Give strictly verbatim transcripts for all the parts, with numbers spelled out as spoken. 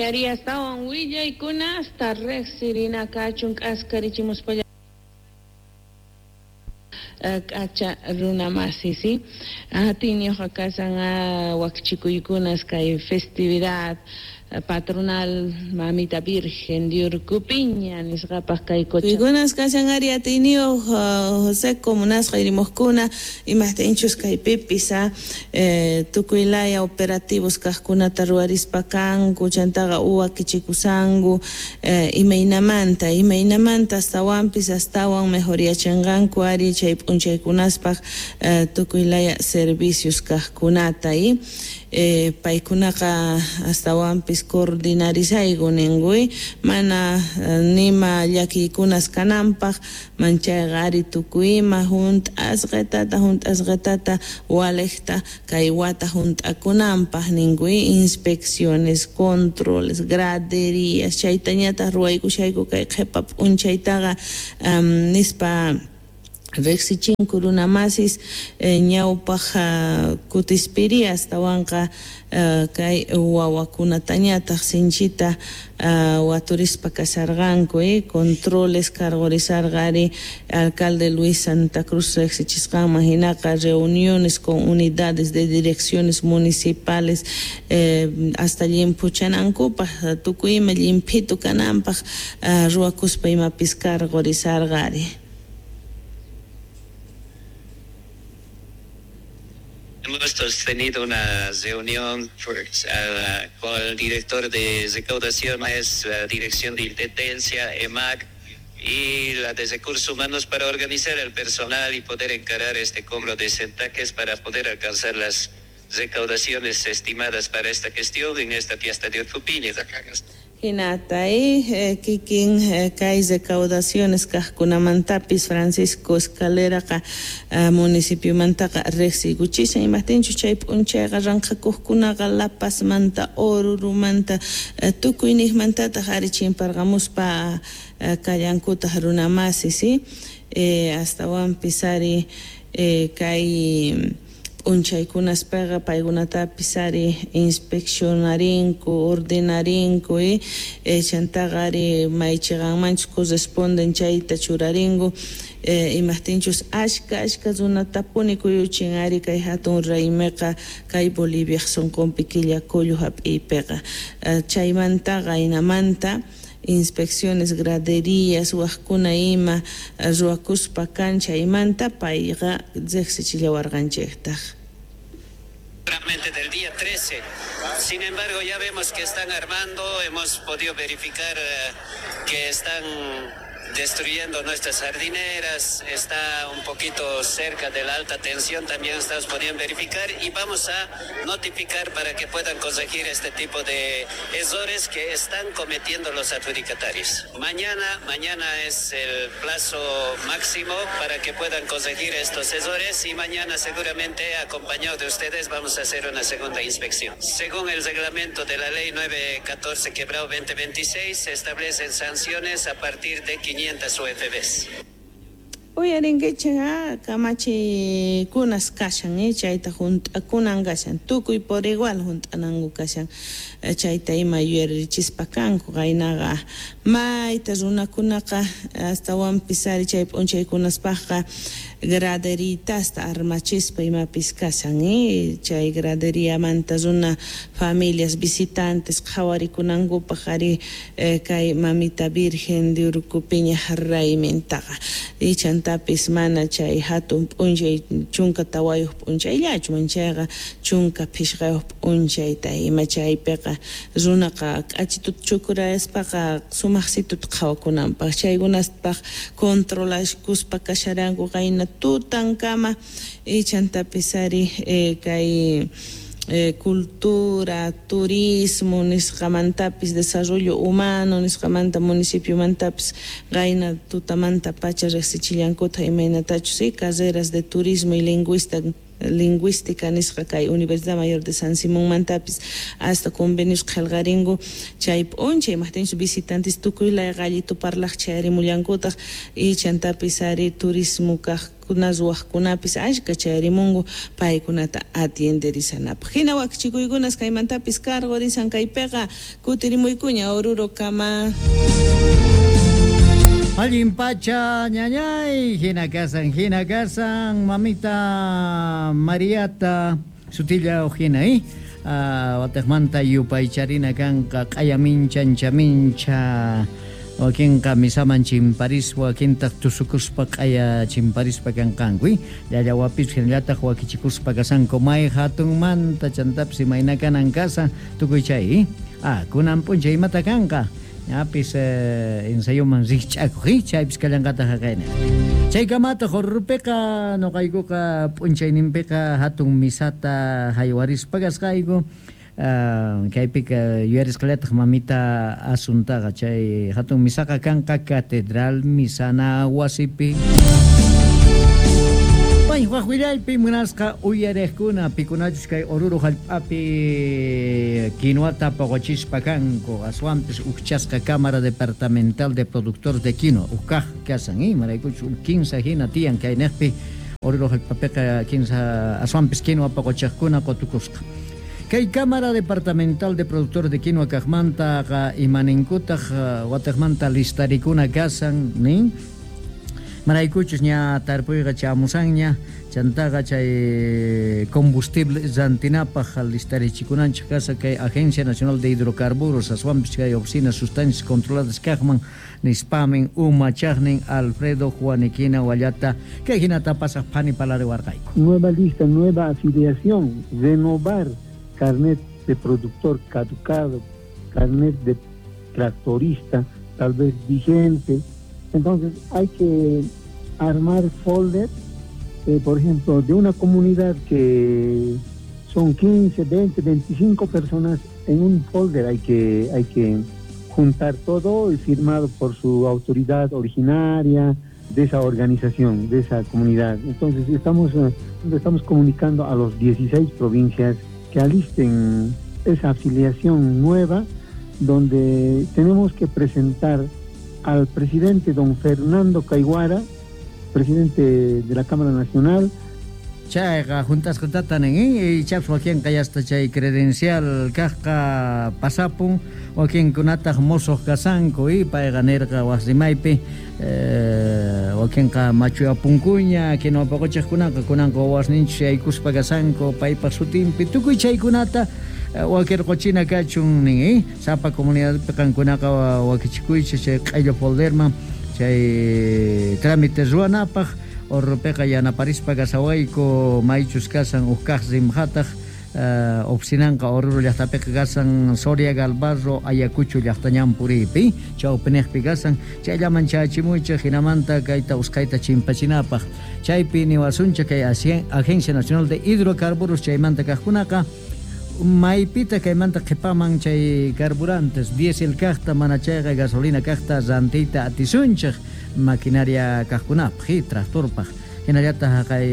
Kayari astawan willaykunasta riqsirina kachun k'askarichimuspalla k'acha runa masi, ¿sí? Atiyniyuqqa kashan wakchikuykunas kay festividad patronal Mamita Virgen de Urcupiña nisqapaq kay Kuykunas kashan ari atiyniyuq José Comunasqa irimuqkuna imaqtinchus kaypipis tukuy laya operativos kaqkunata ruwarispa kanku chantaqa uwakichikusanku imaynamanta imaynamanta astawanpis astawan mejoriyachinqanku ari chay p'unchaykunaspaq tukuy laya servicios kaqkunata y Eh, paykunaqa astawanpis coordinarisayku ninkuy mana nima llakiykunas kananpaq manchayqa ari tukuy ima hunt'asqitata hunt'asqitata waliqta kay wata hunt'akunanpaq ninkuy inspecciones, controles, graderías chaytañataq ruwaykushayku kay qhipa p'unchaytaqa um, nispa riqsichinku runa masis ñawpaq kutispiri astawanqa kay wawakunatañataq sinchita waturispa kasharqanku controles cargorizarqa ari alcalde Luis Santa Cruz riqsichisqanman hinaqa reuniones con unidades de direcciones municipales hasta llimphuchanankupaq tukuy ima llimphitu kananpaq ruwakuspa imapis cargorizarqa ari. Hemos tenido una reunión por, uh, con el director de recaudaciones, la dirección de intendencia, E M A C y la de recursos humanos para organizar el personal y poder encarar este cobro de centaques para poder alcanzar las recaudaciones estimadas para esta gestión en esta fiesta de Urcupiña. Hinata eh, kikin kay recaudaciones kaqkunamantapis Francisco Escaleraqa municipiomantaqa riqsiykuchishan imaqtinchus chay p'unchayqa ranqhakuqkunaqa La Pazmanta Orurumanta tukuy niqmantataq ari chimparqamuspa kallankutaq runa masi, ¿sí? Eh, astawanpis ari eh, kay p'unchaykunaspaqa paykunatapis ari inspeccionarinku, ordenarinku y chantaqa ari maychiqanmanchus corresponden chayta churarinku imaqtinchus ashka ashka runatapuni kuyuchin ari kay hatun raymiqa kay Boliviaq sunqunpi killa kullu hap'iypiqa chaymantaqa hinamanta inspecciones, graderías, waqkuna ima ruwakuspa kan chaymanta payqa riqsichillawarqanchiktaq. Del día trece. Sin embargo, ya vemos que están armando, hemos podido verificar que están destruyendo nuestras jardineras, está un poquito cerca de la alta tensión, también estamos pudiendo verificar y vamos a notificar para que puedan corregir este tipo de errores que están cometiendo los adjudicatarios. Mañana, mañana es el plazo máximo para que puedan corregir estos errores y mañana seguramente, acompañado de ustedes, vamos a hacer una segunda inspección. Según el reglamento de la ley nueve catorce quebrado veinte veintiséis, se establecen sanciones a partir de quinientas U F Bs. Uyarinkichik kamachikunas kashan, eh, chayta hunt'akunan kashan, tukuy por igual hunt'ananku kashan, chayta ima yuyarichispa kanku qaynaqa mayta runakunaqa astawanpis ari chay p'unchaykunaspaqqa graderitasta armachispa imapis kashan, eh, chay graderiamanta runa familias visitantes qhawarikunankupaq ari eh, kay Mamita Virgen de Urcupiña raymintaqa y chantapis mana chay hatun p'unchay chunka tawayuq p'unchayllachu manchayqa chunka phishqayuq p'unchayta ima chaypiqa runaqa k'achituta chukurayaspaqa sumaqsituta qhawakunanpaq chaykunaspaq controlaskuspa kasharanku qayna tutankama y chantapis ari eh, kay Eh, cultura, turismo nisqamantapis desarrollo humano nisqamanta municipio-mantapis qayna tutamanta pacha riqsichillankuta imaynatachus, ¿sí? Carreras de turismo y lingüista Lingüística nisqa kay Universidad Mayor de San Simón mantapis hasta convenios qhelqaringu chay p'unchay imajtinchus visitantes tukuy layqallitu parlaq chayarimullankutaq y chantapis ari turismo kaqkuna ruwaqkunapis ashka chayarimunku paykunata atienderisanapaq. Hina wakichikuykunas kaymantapis karqurisan kaypiqa kutirimuykuña Oruro kama. Allin pacha ñañay, hina kasan, hina kasan, mamita Mariata, sutilla hina, eh? Uh, watejmanta yupaycharina kanqa q'aya mincha mincha wakinqa misaman chimparispa wakintaq tusukuspa q'aya chimparispa kanqanku llallawapis hinallataq wakichikuspa kasanku may hatunmanta chantapis imayna kanan kasan tukuy chay ah kunan p'unchay imata kanqa ñapis eh, ensayoman rikch'akuq chaypis kallanqataq haqayna chaykamataq Orurupiqa nuqaykuqa p'unchayninpiqa hatun misata haywarispa kasqayku uh, kaypiqa yuyarisqallataq mamita Asuntaqa chay hatun misaqa kanqa Catedral Misana wasipi. Waj willaypi munasqa uyariqkuna pikunachus kay Oruro hallp'api quinuata poqochispa kanku aswanpis ujchasqa Cámara Departamental de Productores de Quinoa ujkaq kasan imaraykuchus kinsa hina tiyan kayniqpi Oruro hallp'apiqa kinsa aswanpis quinoa poqochiqkuna qotukusqa. Kay Cámara Departamental de Productores de Quinoa kaqmantaqa imaninkutaq wataqmanta listarikuna kasan nin maraykuchus ña tarpuyqa chamusanña chantaqa chay combustible rantinapaq listarichikunanchik kasa kay Agencia Nacional de Hidrocarburos aswanpis kay oficina sustancias controladas kaqman nispamin umachaqnin Alfredo Juaniquina wallata kay hinata pasaq phani palariwarqayku. Nueva lista, nueva afiliación, renovar carnet de productor caducado, carnet de tractorista tal vez vigente. Entonces hay que armar folder, eh, por ejemplo, de una comunidad que son quince, veinte, veinticinco personas en un folder hay que, hay que juntar todo y firmado por su autoridad originaria de esa organización, de esa comunidad. Entonces estamos, estamos comunicando a los dieciséis provincias que alisten esa afiliación nueva, donde tenemos que presentar al presidente don Fernando Caiguara, presidente de la Cámara Nacional. Chayqa juntasqatata nin y chaps wakinqa yasta chay credencial kaqqa pasapun wakinkunataq mosoq kasanku y payqa nirqa wasimaypi eh, wakinqa machuyapunkuña quinua poqochiqkunaqa kunanqa wawasninchis yaykuspa kasanku paypaq sutinpi tukuy chaykunata wakirquchina kachun nin eh? Sapa comunidadpi qankunaqa wakichikuychis chay q'ello folderman chay trámite ruwanapaq Orurupiqa yanaparispa kasawayku maychus kasan uj kaq rimqataq uh, oficinanqa Oruro llaqtapiqa kasan Soria Galvarro Ayacucho llaqtañan puriypi chawpiniqpi kasan chayllaman chayachimuychik hinamanta kayta usqhayta chimpachinapaq chaypi niwasunchik kay Agencia Nacional de Hidrocarburos chaymanta kaqkunaqa maypita kaymanta qhipaman chay carburantes diésel kaqta mana chayqa gasolina kaqta rantiyta atisunchik maquinaria kaqkunapaq tractorpaq hinallataq kay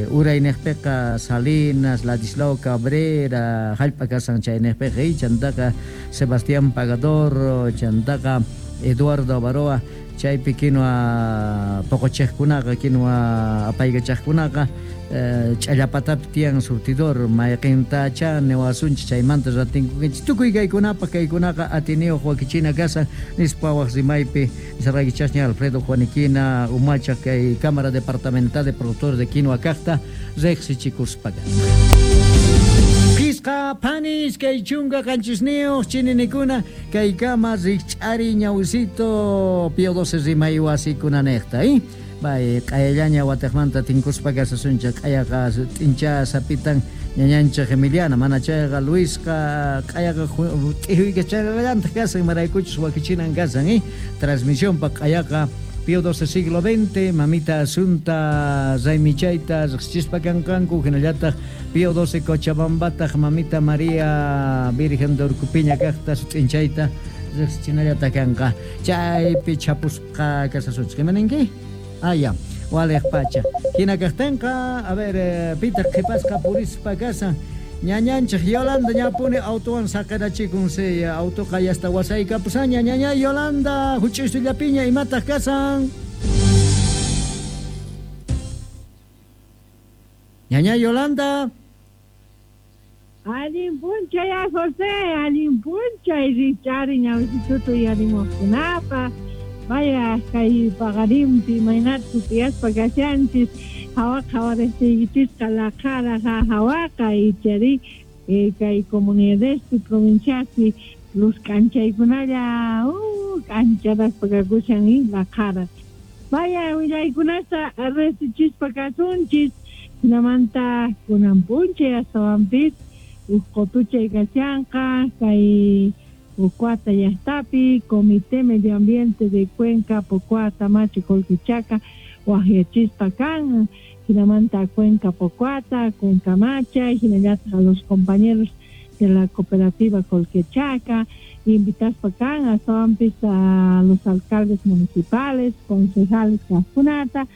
urayniqpiqa Salinas, Ladislao Cabrera hallp'a kasan chayniqpiqa chantaqa Sebastián Pagador chantaqa Eduardo Avaroa chaypi quinua poqochiqkunaqa quinua apaykachaqkunaqa ch'allapatapi tiyan surtidor mayqintacha niwasunchik chaymanta ratinkukinchik tukuy kaykunapaq kaykunaqa atiniyuq wakichina kasan nispa waq rimaypi nisarqaykichasña Alfredo Juaniquina umachaq kay Cámara Departamental de Productores de Quinoa kaqta riqsichikuspa Pisqa panis kay chunka qanchisniyuq chininikuna kaykama rikch'ari ñawisito Pío doce rimay wasikunanejta eh? Bay q'ayallaña wataqmanta tinkuspa kasasunchik q'ayaqa t'incha sapitan ñañanchik Emiliana mana chayqa Luisqa q'ayaqa t'ihuykachayrallantaq kasan maraykuchus wakichinan kasan eh? Transmisionpa q'ayaqa Pío doce siglo veinte, mamita Asunta Raymichayta riqsichispa kanqanku hinallataq Pío doce Cochabambataq mamita María Virgen de Urcupiña kaqta sut'inchayta riqsichinallata kanqa chaypi chapusqa kasasunchik imaninki? Ah, ya. Waliq pacha. Hina kaqtinqa, a ver, eh, pitaq qhipasqa purispa kasan. Ñañanchik Yolanda ñapuni autowan saqirachikun si autoqa yasta wasaykapusaña ñaña Yolanda huch'uysullapiña imataq kasan. Ñaña Yolanda. Allin p'unchay a José, allin p'unchay richari ñawisitutu yarimuqkunapaq. Vaya kay paqarinpi imaynata sutiyaspa kashanchis hawaqa hawaristiykichikqa laqhara hawaqa ichari eh, kay comunidadespi provinciaspi luz k'anchaykunalla uh, k'ancharaspa kakushan y laqhara. Vaya willaykunata resichispa kasunchis hinamanta kunan p'unchay astawanpis uj qotuchay kashanqa kay Pocoata llaqtapi, Comité Medio Ambiente de Cuenca, Pocoata, Machi, Colquichaca, waqyachispa kan, hinamanta Cuenca Pocoata, Cuenca Macha, hinallataq a los compañeros de la cooperativa Colquechaca, invitaspa kan, astawanpis a los alcaldes municipales, concejales kaqkunata,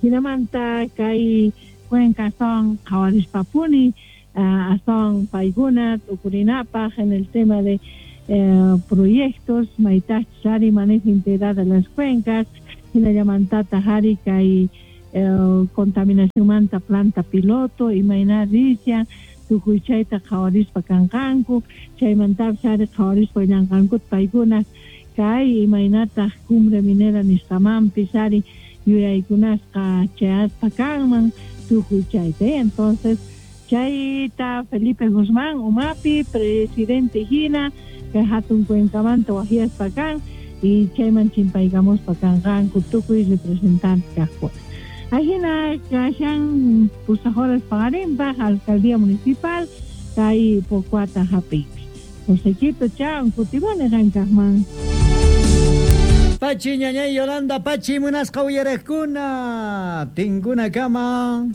hinamanta kay Cuenca son qhawarispapuni, uh, astawan paykuna t'ukurinapaq en el tema de Eh, proyectos, maytachus ari manejo integral de las cuencas, hinallamantata ari kay eh, contaminación manta planta piloto, imayna rishan, tukuy chayta qhawarispa kanqanku, chaymantapis ari qhawarispa llanqankuta paykuna kay imaynataq cumbre minera nisqamanpis ari yuyaykunasqa chayaspa kanman tukuy chayta, eh? Entonces chayta Felipe Guzmán umapi presidente hina kay hatun cuencamanta waqyaspa kan y chayman chimpaykamuspa kanqanku tukuy representante kaqkuna. Ajina kashan pusaq horas paqarinpaq alcaldía municipal kay Pocoata hap'iypi. Josequito chao kutibani qankaqman. Pachi ñañay Yolanda, pachi munasqa uyariqkuna, tinkuna kama.